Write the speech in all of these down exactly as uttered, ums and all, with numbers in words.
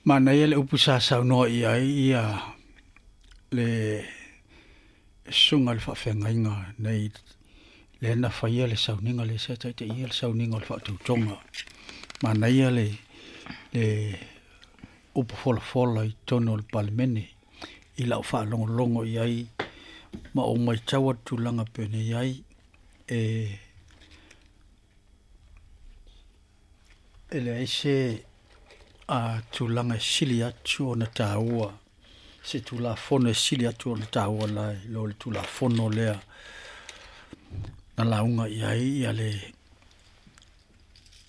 Manaia le upu sa saunoa i ai ia le susuga i le faafeagaiga nei lea na faia le sauniga le sa taitaia le sauniga o le faatautoga. Manaia le le upu folafola i totonu o le Palemene i lau faalogologo i ai ma ou matau atu tulaga e pei ona i ai e e leai se a tulaga e sili atu ona taua, se Tulafono e sili atu ona taua la i lo le Tulafono lea na lauga i ai ia le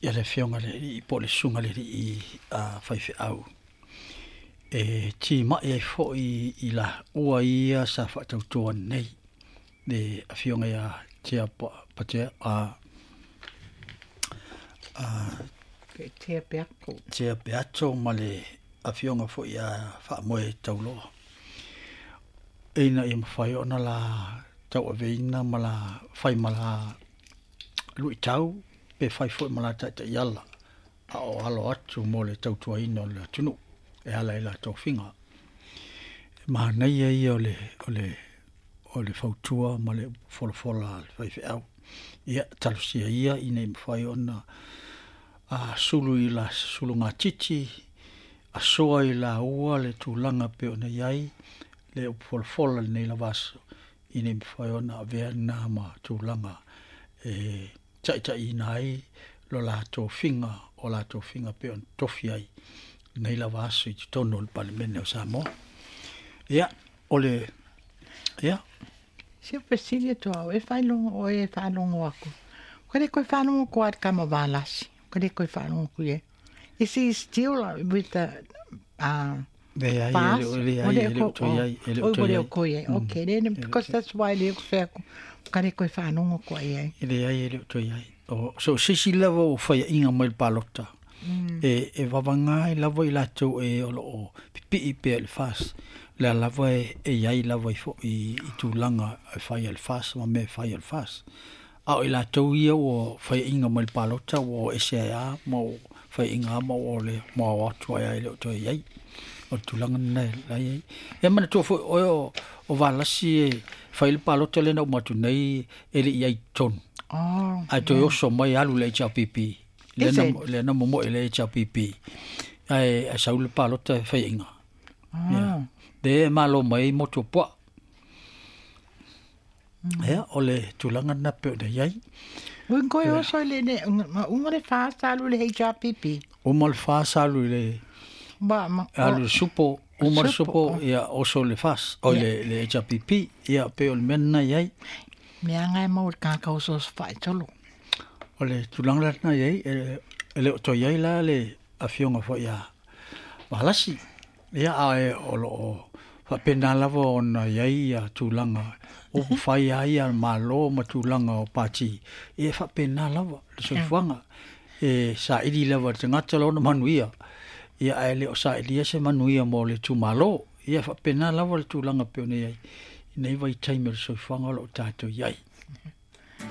ia le Afioga i le Alii po o le Susuga i le Alii a Faifeau e timai ai foi i laua ia sa faatautoa nei le Afioga ia Tea Patea a a Tea Peato. Tea Peato ma le Afioga foi ia Faamoe Tauloa. Ina ia mafai ona la tauaveina ma la fai ma la luitau pe fai foi ma la taitaiala a o alo atu mo le tautuaina o le atunuu e ala i la tofiga. E manaia ia o le, o le, o le fautua ma le folafola a le faifeau. Ia, talosia ia ina ia mafai ona a sulu i la sulugatiti, asoa i laua le tulaga pei ona i ai le upu folafola lenei lava aso, ina ia mafai ona avea lena ma tulaga e taitaiina ai lo la tofiga, o la tofiga pei ona tofi ai lenei lava aso i totonu o le Palemene o Samoa. Ia, o le, ia. Se fesili atu au, e faalogo oe e faalogo aku. Ka le koe faalogo koa i kama valasi. Ka le koe faalogo ku ia. Is he still with the uh, Leai, e FAS? le o- leai, e le o toe i ai, e le o Oi, toe i le ai. o koe ai. Okay, then, because that's why le o whea ku. Ka le koe faalogo koa i ai. E leai, e le o toe i ai. O, so se isi lava o faiaʻiga mai le palota, e, e vavaga ai lava i latou e o loo pipii pea i le FAS. Le a lava e, e iai lava i fo, i, i tulaga e fai a le FAS ma mea e fai a le FAS. A o i latou ia ua faiaʻiga mai le palota ua o ese ai a ma ua faiaʻiga a ma ua le ma o atu ai ai le o toe i ai. O le tulaga lena e la i ai. E manatua foi oe o, o Valasi e fai le palota lea na uma atu nei e le i ai i totonu. Oh, Ae toe oso mai alu le H R P P. Le Is na, it? le na momoe le H R P P. Ae, ae sau le palota e faiaʻiga. Ah. Ia. Le e malo mai motu o puaa. Ia, o le tulaga lena pei ona i ai. Ui koe oso i le ne, ma uma le FAS alu le H R P P. Uma le FAS alu i le Ba, ma, alu le supo, uma le Supo, supo, ia oso le FAS, o Ia. le, le H R P P, ia pei o le mea lena i ai. Mea ngai mau le kākau oso oso whaitolo. O le tulaga lena i ai, e, e le o toe i ai la le afioga foi ia Valasi. Ia, ae o loo faapena lava ona i ai ia tulaga upu fai ai ia malo ma tulaga o pati. Ia e faapena lava le soifuaga. E saili lava le tagata lona manuia. Ia ae le o sailia se manuia mo le itumalo. Ia e faapena lava le tulaga pei ona i ai i nei vaitaimi o le soifuaga o loo tatou i ai.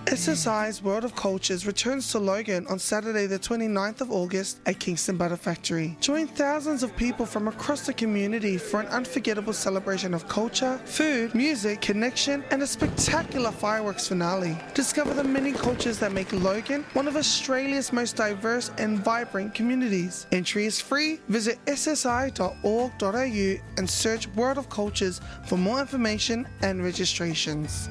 S S I's World of Cultures returns to Logan on Saturday the twenty-ninth of August at Kingston Butter Factory. Join thousands of people from across the community for an unforgettable celebration of culture, food, music, connection, and a spectacular fireworks finale. Discover the many cultures that make Logan one of Australia's most diverse and vibrant communities. Entry is free. Visit S S I dot org dot A U and search World of Cultures for more information and registrations.